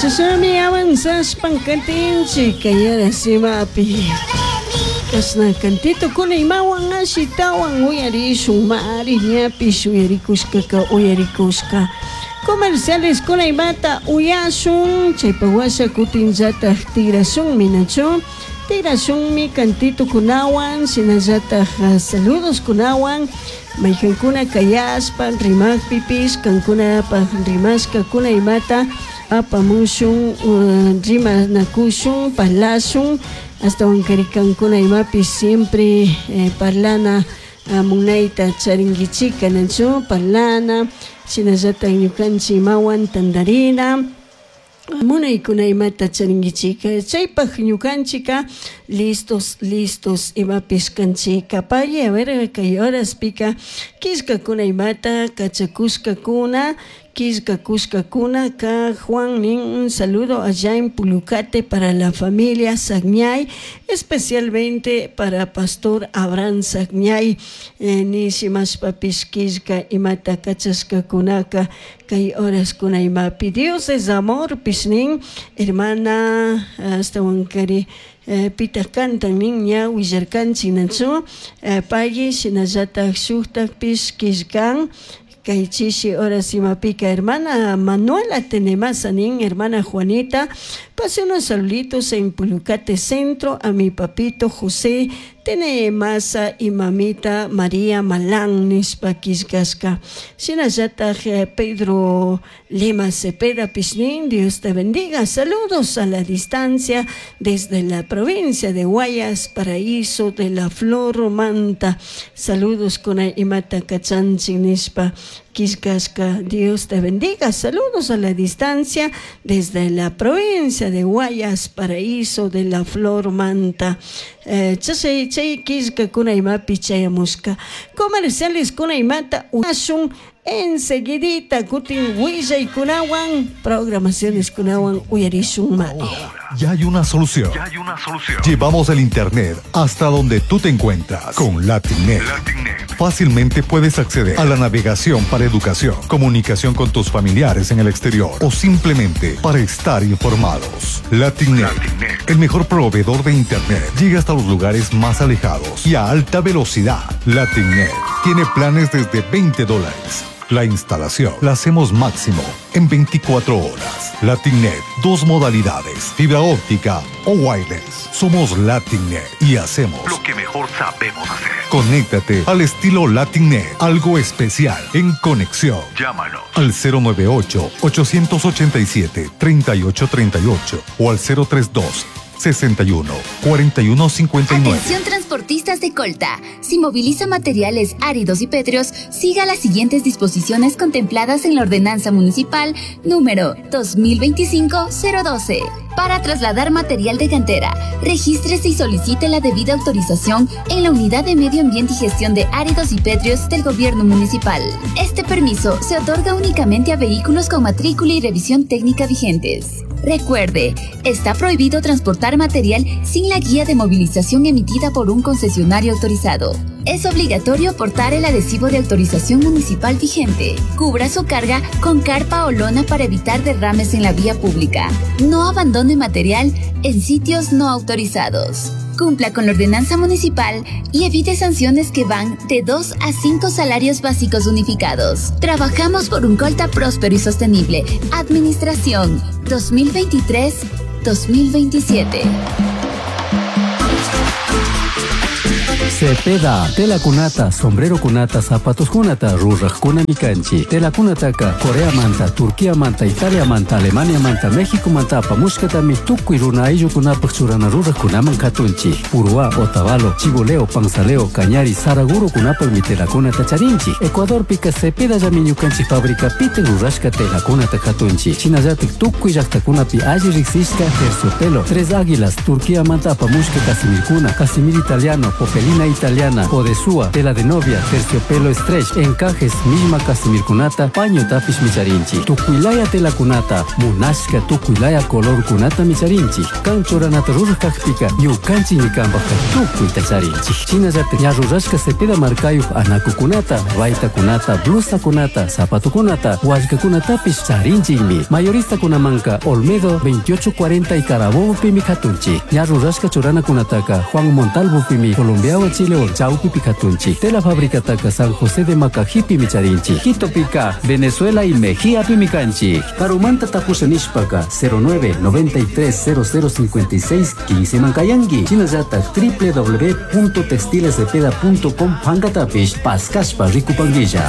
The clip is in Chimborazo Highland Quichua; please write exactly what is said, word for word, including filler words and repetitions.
Chashami avanzashpan katinchik kay horas imapi. Kashna kantitukuna imawan ashitawan uyarishun mari ñapish uyarikushkaka uyarikushka. Comerciales kuna imata uyashun chaypa washa kutinllatak tigrashunmi, nachu? Tigrashunmi kantitukunawan shinallatak saludos kunawan maykankuna kayashpa rimakpipish kankunapaj rimashkakuna imata apamushun, uh, rimanakushun, parlashun ashtawankari kankuna imapish siempre eh, parlana uh, munayta charinkichika, nachu? Parlana shinallatak ñukanchik imawan tandarina munaykuna imata charinkichika. Chaypak ñukanchika listos, listos imapish kanchika. Pay, a ver, kay horaspika killkakuna imata kachakushkakuna killkakushkakuna ka Juan nin: "Un saludo allá en Pulucate para la familia Sagñay, especialmente para Pastor Abraham Sagñay", eh, nishimashpapish killka imata kachashkakunaka kay horaskuna imapi. "Dios es amor" pish nin hermana ashtawankari eh, pitaq kantan nin ña willarkanchik, nachu? eh, pay shinallatak shuktakpish killkan kay chishi horas imapika. Hermana Manuela Tenemasa nin: "Hermana Juanita, pase unos saluditos en Pulucate Centro a mi papito José Tenemasa y mamita María Malán", nishpa killkashka. Shinallatak eh, Pedro Lima Cepeda pish nin: "Dios te bendiga, saludos a la distancia desde la provincia de Guayas, Paraíso de la Flor Manta, saludos con imata kachanchik", nishpa killkashka. "Dios te bendiga, saludos a la distancia desde la provincia de Guayas, Paraíso de la Flor Manta". Eh, chashay chay killkakuna imapi chayamushka. Comerciales kuna imata uyashun enseguidita, kutin willaykunawan programaciones kunawan uyarishun ma. Ya hay una solución. Ya hay una solución. Llevamos el internet hasta donde tú te encuentras con LatinNet. LatinNet. Fácilmente puedes acceder a la navegación para educación, comunicación con tus familiares en el exterior o simplemente para estar informados. LatinNet, LatinNet. El mejor proveedor de internet, llega hasta los lugares más alejados y a alta velocidad. LatinNet tiene planes desde veinte dólares. La instalación la hacemos máximo en veinticuatro horas. LatinNet, dos modalidades, fibra óptica o wireless. Somos LatinNet y hacemos lo que mejor sabemos hacer. Conéctate al estilo LatinNet, algo especial en conexión. Llámanos al cero nueve ocho, ochocientos ochenta y siete, treinta y ocho treinta y ocho o al cero tres dos, sesenta y uno, cuarenta y uno, cincuenta y nueve. Atención, transportistas de Colta. Si moviliza materiales áridos y pétreos, siga las siguientes disposiciones contempladas en la Ordenanza Municipal número dos mil veinticinco cero doce. Para trasladar material de cantera, regístrese y solicite la debida autorización en la Unidad de Medio Ambiente y Gestión de Áridos y Pétreos del Gobierno Municipal. Este permiso se otorga únicamente a vehículos con matrícula y revisión técnica vigentes. Recuerde, está prohibido transportar material sin la guía de movilización emitida por un concesionario autorizado. Es obligatorio portar el adhesivo de autorización municipal vigente. Cubra su carga con carpa o lona para evitar derrames en la vía pública. No abandone material en sitios no autorizados. Cumpla con la ordenanza municipal y evite sanciones que van de dos a cinco salarios básicos unificados. Trabajamos por un Colta próspero y sostenible. Administración dos mil veintitrés dos mil veintisiete. Cepeda, telacunata, sombrerocunata, zapatoscunata, rurajcunami canchi. Telacunataca, Corea manta, Turquía manta, Italia manta, Alemania manta, México manta, apamushkatami tukuy runa ayllukunapaj churana rurajkunaman katunchi. Puruhá, Otavalo, Chibuleo, Panzaleo, Cañari, Saraguro kunapajmi telacunata charinchi. Ecuadorpika Cepedallami ñukanchik fabricapi rurashka telacunata katunchi. Shinallatik tukuy llaktakunapi alli riksishka terciopelo, Tres Águilas, Turquía manta apamushka casimirkuna, casimir italiano, popelina. Lina italiana, odesua, tela de novia, terciopelo stretch, encajes, millma casimirkunata, pañotapishmi charinchik. Tukuylaya telakunata, munashka tukuylaya colorkunatami charinchik. Kan churanata ruraj kakpika, ñukanchikmi kanpajka tukuyta charinchik. Shinallatak ña rurashka Cepeda markayuq anakukunata, baytakunata, blusakunata, zapatokunata, wallkakunatapish charinchikmi. Mayoristakunamanka Olmedo veintiocho cuarenta y Carabobopimi katunchik. Ña rurashka churanakunataka Juan Montalvopimi Colombiawan Chilewan chawpipi katunchik. Tela fabricataka San José de Macajipimi charinchik. Quitopika, Venezuela y Mejíapimi kanchik. Karumanta tapusha nishpaka cero nueve noventa y tres cero cero cincuenta y seis quince mankayanki. Shinallatak w w w punto textiles cepeda punto com pankatapish paskashpa rikupanguilla.